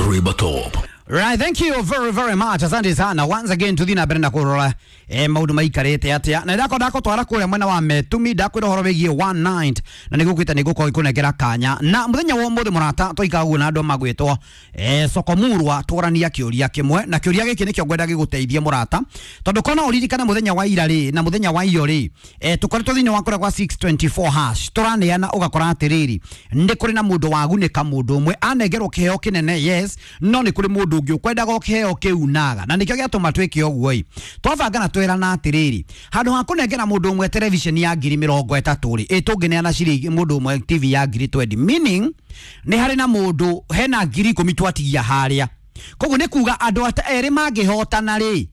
Rivertop. Right, thank you very very much. Asante sana. Once again tuthi na mbere na kurora maundu maikarite atia. Na ndako ndako twara kuria mwena wa Metumi ndakwira horo wigie one night na nigukwita nigukorwo ikunengera kanya. Na muthenya wa umuthi murata twaikaga uguo na andu magwitwo Sokomurwa twarania kiuria kimwe na kiuria giki nikio ngwenda giguteithie murata tondu kona uririkane muthenya wa ira ri na muthenya wa iyo ri tukoretwo thiini wa kuria kwa 624 hash turaneana ugakora atiriri ni kuri na mundu wagunika mundu umwe anengerwo kiheo kinene, yes, no ni kuri mundu ungi ukwendaga kiheo kiu naga na nikio giatuma twike uguo i twabanga na twerana atiriri handu ha kunengera mundu umwe television ya ngiri mirongo itatu ri tungineana ciringi mundu umwe TV ya ngiri 20, meaning ni hari na mundu hena ngiri ikumi twatigia haria. Koguo ni kuga andu ata eri mangihotana ri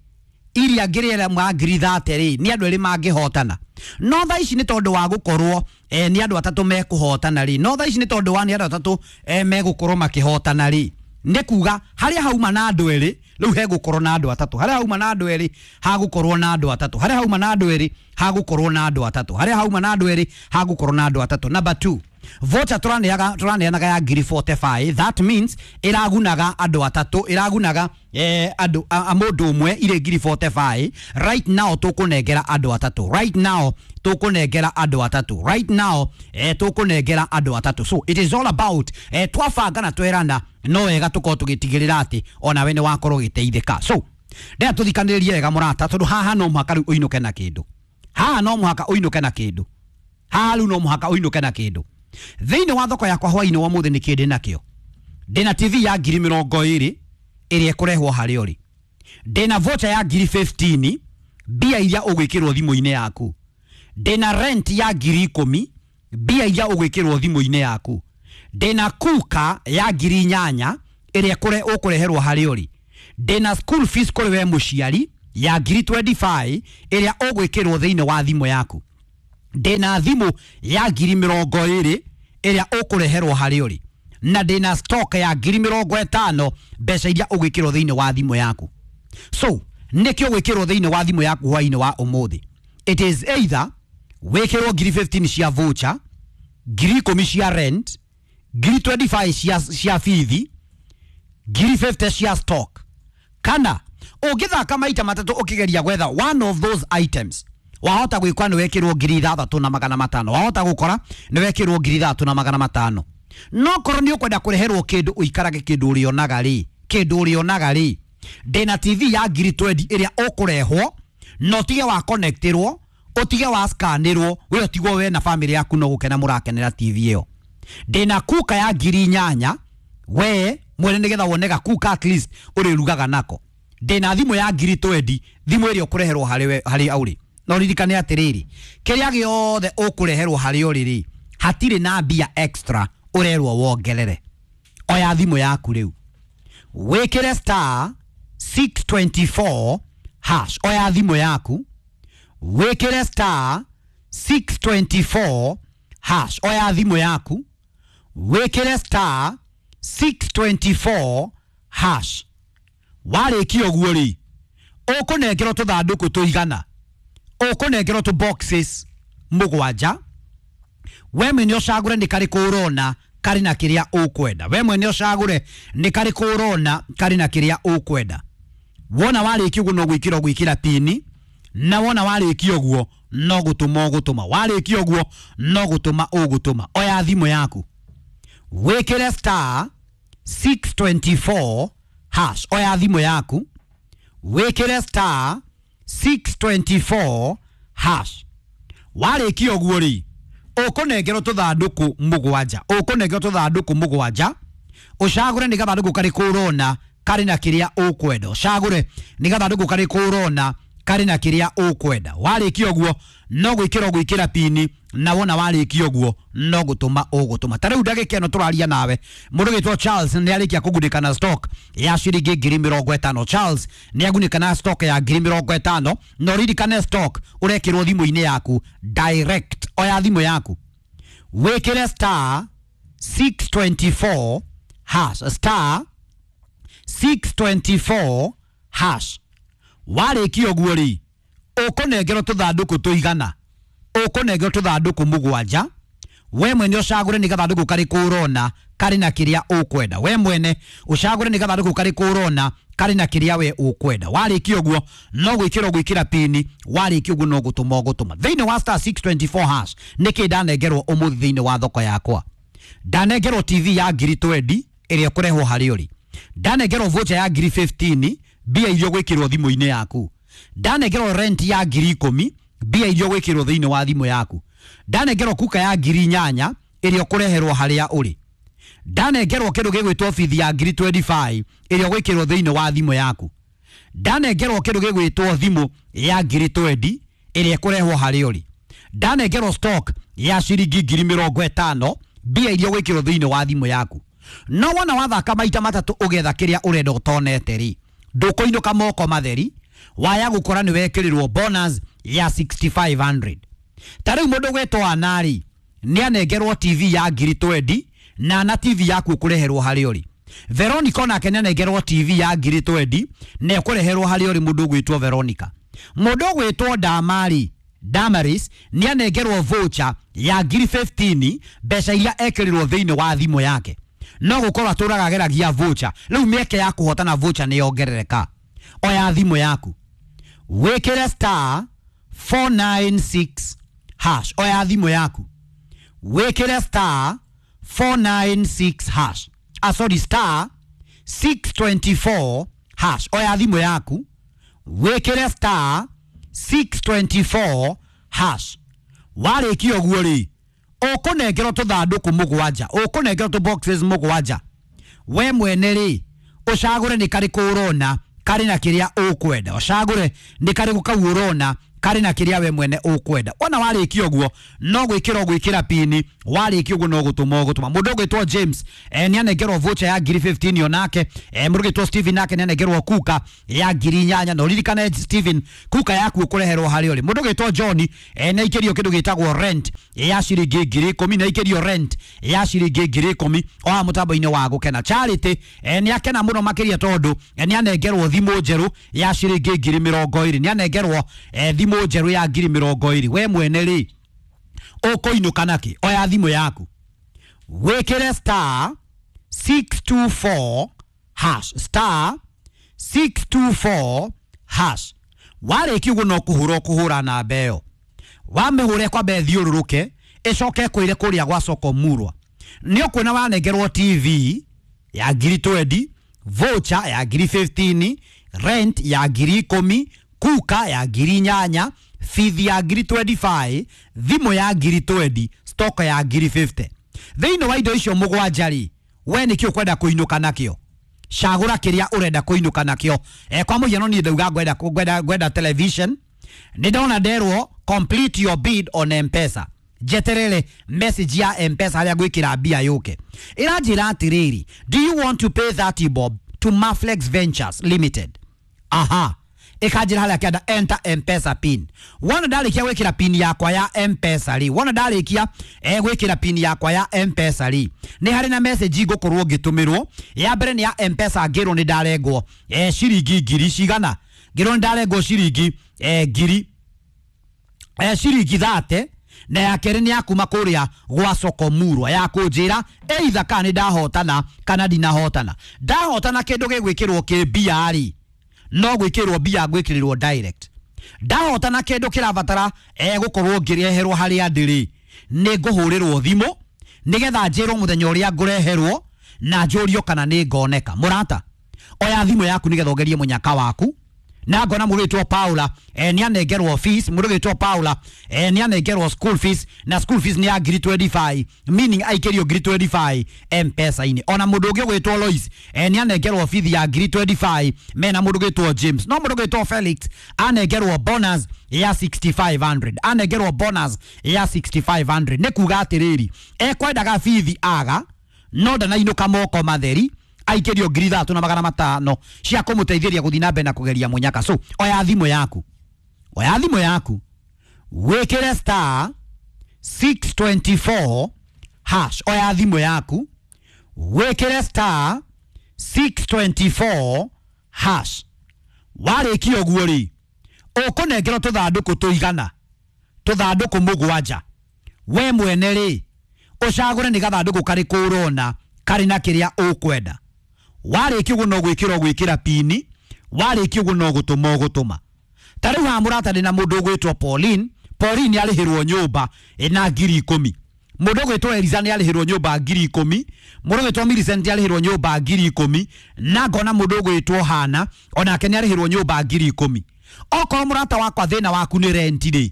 iria ngiri ĩrĩa ma ngiri thate ri ni andu eri mangihotana, no thaa ici ni tondu wa gukorwo ni andu atatu mekuhotana ri, no thaa ici ni tondu wa ni andu atatu megukorwo makihotana ri, ni kuga haria hauma na andu eri riu hegukorwo na andu atatu, haria hauma na andu eri hagukorwo na andu atatu, haria hauma na andu eri hagukorwo na andu atatu, haria hauma na andu eri hagukorwo na andu atatu. Number 2, voucher turaneanaga ya ngiri 45, that means iragunaga andu atatu, iragunaga andu a mundu umwe ire ngiri 45. Right now tukunengera andu atatu, right now tukunengera andu atatu, right now tukunengera andu atatu. So it is all about twabanga na twerana no wega tukorwo tugitigirira ati ona we ni wakorwo giteithika. So ndea tuthikaniririe wega murata tondu haha no muhaka riu uinuke na kindu, haha no muhaka uinuke na kindu, haha riu no muhaka uinuke na kindu. Thiini wa thoko yakwa hwaini wa muthi niki ndina kio, ndina TV ya ngiri mirongo iri iria ikurehwo haria uri, ndina voucher ya ngiri 15 mbia iria ugwikirwo thimu-ini yaku, ndina rent ya ngiri ikumi mbia iria ugwikirwo thimu-ini yaku, ndina kuka ya ngiri inyanya iria ukureherwo haria uri, ndina school fees kuri we muciari ya ngiri 25 iria ugwikirwo thiini wa thimu yaku, ndina thimu ya ngiri mirongo iri iria ukureherwo haria uri, na ndina stock ya ngiri mirongo itano mbeca iria ugwikirwo thiini wa thimu yaku. So nikio gwikirwo thiini wa thimu yaku hwaini wa umuthi, it is either wikirwo ngiri 15 cia voucher, ngiri ikumi cia rent, ngiri 25 cia bithi, ngiri 50 cia stock, kana ungithaka maita matatu ukigeria gwetha one of those items wahota gwikwa ni wekirwo ngiri ithathatu na magana matano, wahota gukora ni wekirwo ngiri ithathatu na magana matano. No korwo ni ukwenda kureherwo kindu uikarage kindu urionaga ri, kindu urionaga ri, ndina TV ya ngiri 20 iria ukurehwo no tige wa connectirwo utige wa scanirwo we utigwo we na family yaku no gukena murakenera TV iyo. Ndina kuka ya ngiri inyanya we mwene nigetha wone gakuka at least urirugaga nako. Ndina thimu ya ngiri 20 thimu iria ukureherwo hari hari auri. No ririkane atiriri kiria giothe ukureherwo hari uri hatiri na mbia extra urerwo wongerere. Oya thimu yaku riu wikire star 624 hash. Oya thimu yaku wikire star 624 hash. Oya thimu yaku wikire star 624 hash. Warikia uguo ri ukunengerwo tuthanduku tuigana, ukunengerwo tu boxes mugwanja, we mwene ucagure ni kariku urona kari na kiria ukwenda, we mwene ucagure ni kariku urona kari na kiria ukwenda. Wona warikia uguo no gwikira gwikira pini, na wona warikia uguo no gutuma ugutuma, warikia uguo no gutuma ugutuma. Oya thimu yaku wikire star 624 hash. Oya thimu yaku wikire star 624 hash. Warikia uguo ri ukunengerwo tuthanduku mugwanja, ukunengerwo tuthanduku mugwanja, ucagure ni gathanduku kariku urona kari na kiria ukwenda, ucagure ni gathanduku kariku urona kari na kiria ukwenda. Warikia uguo no gwikira gwikira pini, na wona warikia uguo no gutuma ugutuma. Ta riu ndagika ino turaria nawe mundu gitwo Charles ni arikia kugunika na stock ya ciringi ngiri mirongo itano. Charles ni agunika na stock ya ngiri mirongo itano, no ririkane stock urekirwo thimu-ini yaku direct. Oya thimu yaku wikire star 624 hash, star 624 hash. Warikia uguo ri ukunengerwo tuthanduku tuigana, ukunengerwo tuthanduku mugwanja, We mwene ũcagũre nĩ gathandũkũ karĩkũ ũrona karĩ na kĩrĩa ũkwenda. We mwene ũcagũre nĩ gathandũkũ karĩkũ ũrona karĩ na kĩrĩa we ũkwenda. Warĩkia ũguo no gwĩkĩra ũgwĩkĩra pini, warĩkia ũguo no gũtũma ũgũtũma thĩinĩ wa star 624 hash. Nĩkĩ ndanengerwo ũmũthĩ thĩinĩ wa thoko yakwa? Ndanengerwo TV ya ngiri 20 ĩrĩa ĩkũrehwo harĩ ũrĩ. Ndanengerwo voucher ya ngiri 15, mbia iria ũgwĩkĩrwo thimũ-inĩ yaku. Ndanengerwo rent ya ngiri 10, mbia iria ũgwĩkĩrwo thĩinĩ wa thimũ yaku. Ndanengerwo kuka ya ngiri 8 ĩrĩa ũkũreherwo harĩa ũrĩ. Ndanengerwo kĩndũ gĩgwĩtwo bithi ya ngiri 25 ĩrĩa ũgwĩkĩrwo thĩinĩ wa thimũ yaku. Ndanengerwo kĩndũ gĩgwĩtwo thimũ ya ngiri 20 ĩrĩa ĩkũrehwo harĩa ũrĩ. Ndanengerwo stock ya ciringi ngiri 50, mbia iria ũgwĩkĩrwo thĩinĩ wa thimũ yaku. No wona wathaka maita matatũ ũgetha kĩrĩa ũrenda ũtonete rĩ, ndũkũinũka moko matheri, waya gũkora nĩ wekĩrĩrwo bonus ya 6500. Ta rĩu mũndũ gwĩtwo Anari nĩ anengerwo TV ya ngiri 20 na TV yaku ũkũreherwo harĩa ũrĩ. Veronica onake nĩ anengerwo TV ya ngiri 20 na ĩkũreherwo harĩa ũrĩ mũndũ ũgwĩtwo Veronica. Mũndũ ũgwĩtwo Damari Damaris nĩ anengerwo voucher ya ngiri 15, mbeca iria ekĩrĩrwo thĩinĩ wa thimũ yake. No gũkorwo atũraga ageragia voucher. Rĩu mĩeke ya kũhotana voucher nĩ yongerereka. Oya thimũ yaku, wĩkĩre star 496 hash. Oya thimũ yaku, wĩkĩre star 496 hash. Ah, sorry, star 624 hash. Oya thimũ yaku, wĩkĩre star 624 hash. Warĩkia ũguo rĩ, ũkũnengerwo tũthandũkũ mũgwanja, ũkũnengerwo tũ boxes mũgwanja. We mwene rĩ, ũcagũre nĩ karĩkũ ũrona karĩ na kĩrĩa ũkwenda. Ũcagũre nĩ karĩkũ kau ũrona karĩ na kĩrĩa we mwene ũkwenda. Wona warĩkia ũguo no gwĩkĩra ũgwĩkĩra pini, warĩkia ũguo no gũtũma ũgũtũma. Mũndũ ũgwĩtwo James nĩ anengerwo voucher ya ngiri 15 onake. Mũndũ ũgwĩtwo Steven nake nĩ anengerwo kuka ya ngiri 8. Na ũririkane Steven, kuka yaku ũkũreherwo harĩa ũrĩ. Mũndũ ũgwĩtwo John nĩ aikĩrio kĩndũ gĩtagwo rent ya ciringi ngiri 10, nĩ aikĩrio rent ya ciringi ngiri 10 o haha mũtambo-inĩ wa Gũkena. Charity nĩ akena mũno makĩria tondũ nĩ anengerwo thimũ njerũ ya ciringi ngiri 20, nĩ anengerwo thimũ njerũ ya ngiri 20. We mwene rĩ, ũkũinũka nakĩ? Oya thimũ yaku, wĩkĩre star 624 hash, star 624 hash. Warĩkia ũguo no kũhũra ũkũhũra namba ĩyo, wamĩhũre kwambe ĩthiũrũrũke, ĩcoke ĩkwĩre kũrĩa gwa soko murwa. Nĩ ũkuona wanengerwo TV ya ngiri 20, voucher ya ngiri 15, rent ya ngiri 10, kuka ya ngiri 8, bithi ya ngiri 25, thimũ ya ngiri 20, stock ya ngiri 50. Thĩinĩ wa indo icio mũgwanja rĩ, we nĩkĩ ũkwenda kũinũka nakĩo? Cagũra kĩrĩa ũrenda kũinũka nakĩo. Kwa mũhiano niĩ ndauga ngwenda television, nĩ ndona nderwo complete your bid on M-Pesa. Njeterere message ya M-Pesa harĩa ngwĩkĩra mbia yũke. Ĩranjĩra atĩrĩrĩ, do you want to pay 30 bob to Maflex Ventures Limited? Aha. Ĩkanjĩra harĩa kĩanda enter M-Pesa pin. Wona ndarĩkia gwĩkĩra pin yakwa ya M-Pesa rĩ, wona ndarĩkia gwĩkĩra pin yakwa ya M-Pesa rĩ, nĩ harĩ na message ngũkorwo ngĩtũmĩrwo. Ya mbere nĩ ya M-Pesa ngĩrwo nĩ ndarengwo ciringi ngiri cigana, ngĩrwo nĩ ndarengwo ciringi ngiri ciringi 30, na ya kerĩ nĩ ya kuma kũrĩa gwa soko murwa ya kũnjĩra either kana nĩ ndahotana kana ndinahotana. Ndahotana kĩndũ gĩgwĩkĩrwo kĩ mbia rĩ, no gwĩkĩrwo mbia gwĩkĩrĩrwo direct. Ndahotana kĩndũ kĩrabatara gũkorwo ngĩreherwo harĩa ndĩrĩ, nĩ ngũhũrĩrwo thimũ nĩgetha njĩrwo mũthenya ũrĩa ngũreherwo na njũrio kana nĩ ngoneka. Mũrata, oya thimũ yaku nĩgetha ũgerie mũnyaka waku. Na ngona mũndũ wĩtwo Paula nĩ anengerwo fees, mũndũ wĩtwo Paula nĩ anengerwo school fees, na school fees nĩ ya ngiri 25, meaning aikĩrio ngiri 25 M-Pesa-inĩ. Ona mũndũ ũngĩ ũgwĩtwo Lois nĩ anengerwo fees ya ngiri 25, mena mũndũ ũgwĩtwo James. No mũndũ ũgwĩtwo Felix anengerwo bonus ya 6500, anengerwo bonus ya 6500. Nĩ kuga atĩrĩrĩ, ekwendaga fees aga no ndanainũka moko matheri, aikĩrio ngiri 3500 cia kũmũteithĩria gũthiĩ na mbere na kũgeria mũnyaka. So oya thimũ yaku, oya thimũ yaku, wĩkĩre star 624 hash. Oya thimũ yaku, wĩkĩre star 624 hash. Warĩkia ũguo rĩ, ũkũnengerwo tũthandũkũ tũigana, tũthandũkũ mũgwanja. We mwene rĩ, Ũcagũre nĩ gathandũkũ karĩkũ ũrona karĩ na kĩrĩa ũkwenda. Warĩkia ũguo no gwĩkĩra ũgwĩkĩra pini, warĩkia ũguo no gũtũma ũgũtũma. Ta rĩu haha mũrata ndĩ na mũndũ ũgwĩtwo Pauline. Pauline arĩhĩrwo nyũmba ĩna 10,000. Mũndũ ũgwĩtwo Eliza nĩ arĩhĩrwo nyũmba 10,000. Mũndũ ũgwĩtwo Millicent nĩ arĩhĩrwo nyũmba 10,000. Na ngona mũndũ ũgwĩtwo Hana onake nĩ arĩhĩrwo nyũmba 10,000. Okorwo mũrata wakwa thĩna waku nĩ rent rĩ,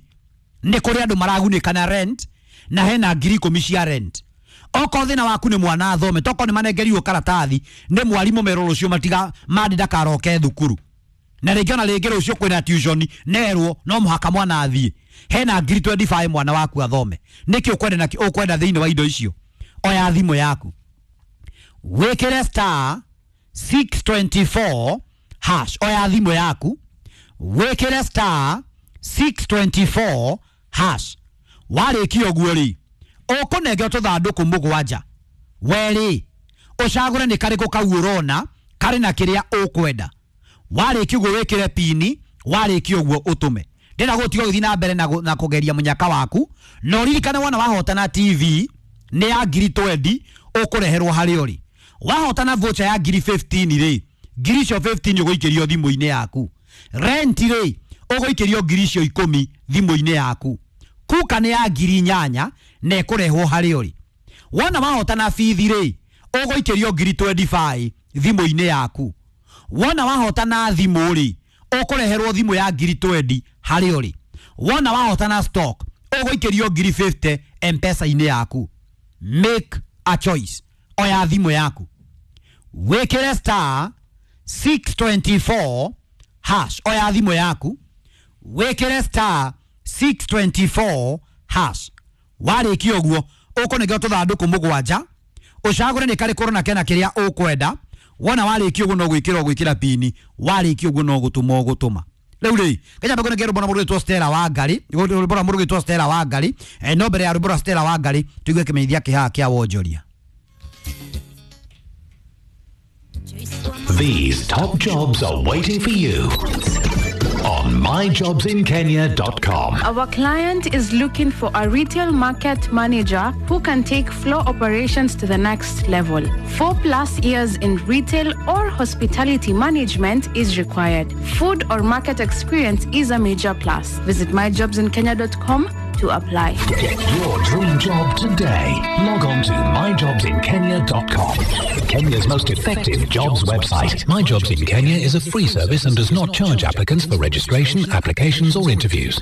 nĩ kũrĩ andũ maragunĩka na rent na hena 10,000 cia rent. Okorwo thĩna waku nĩ mwana athome, tokorwo nĩ manengerirwo karatathi nĩ mwarimũ merwo rũciũ matiga mandi ndakaroke thukuru, na rĩngĩ ona rĩngĩ rũciũ kwĩna tuition nerwo no mũhaka mwana athiĩ, hena 25,000 mwana waku athome. Nĩkĩ ũkwenda na ũkwenda thĩinĩ wa indo icio? Oya thimũ yaku wĩkĩre star 624 hash. Oya thimũ yaku wĩkĩre star 624 hash. Warĩkia ũguo rĩ, ũkũnengerwo tũthandũkũ mũgwanja. Werĩ ũcagũre nĩ karĩkũ kau ũrona karĩ na kĩrĩa ũkwenda. Warĩkia ũguo wĩkĩre pini, warĩkia ũguo ũtũme. Ndĩrenda gũtiga ũgĩthiĩ na mbere na kũgeria mũnyaka waku, na ũririkane wona wahotana TV nĩ ya 20,000 ũkũreherwo harĩa ũrĩ. Wahotana voucher ya 15,000 rĩ, 15,000 ũgũikĩrio thimũ-inĩ yaku. Rent rĩ, ũgũikĩrio 10,000 thimũ-inĩ yaku. Kuka nĩ ya 8,000 na ĩkũrehwo harĩa ũrĩ. Wona wahotana bithi rĩ, ũgũikĩrio 25,000 thimũ-inĩ yaku. Wona wahotana thimũ rĩ, ũkũreherwo thimũ ya 20,000 harĩa ũrĩ. Wona wahotana stock, ũgũikĩrio 50,000 M-Pesa-inĩ yaku. Make a choice. Oya thimũ yaku wĩkĩre star 624 hash. Oya thimũ yaku wĩkĩre star 624 hash. Warĩkia ũguo ũkũnengerwo tũthandũkũ mũgwanja, ũcagũre nĩ karĩkũ ũrona kena kĩrĩa ũkwenda. Wona warĩkia ũguo no gwĩkĩra ũgwĩkĩra pini, warĩkia ũguo no gũtũma ũgũtũma. Rĩu rĩ, kenya mbegũ nĩ rwĩmbo na mũndũ ũgwĩtwo Stella Wangari, rwĩmbo na mũndũ ũgwĩtwo Stella Wangari. No mbere ya rwĩmbo rwa Stella Wangari tuigue kĩmenyithia kĩhaha kĩa wonjoria. These top jobs are waiting for you on myjobsinkenya.com. Our client is looking for a retail market manager who can take floor operations to the next level. 4+ years in retail or hospitality management is required. Food or market experience is a major plus. Visit myjobsinkenya.com to apply. Get your dream job today. Log on to myjobsinkenya.com. Kenya's most effective jobs website. My Jobs in Kenya is a free service and does not charge applicants for registration, applications or interviews.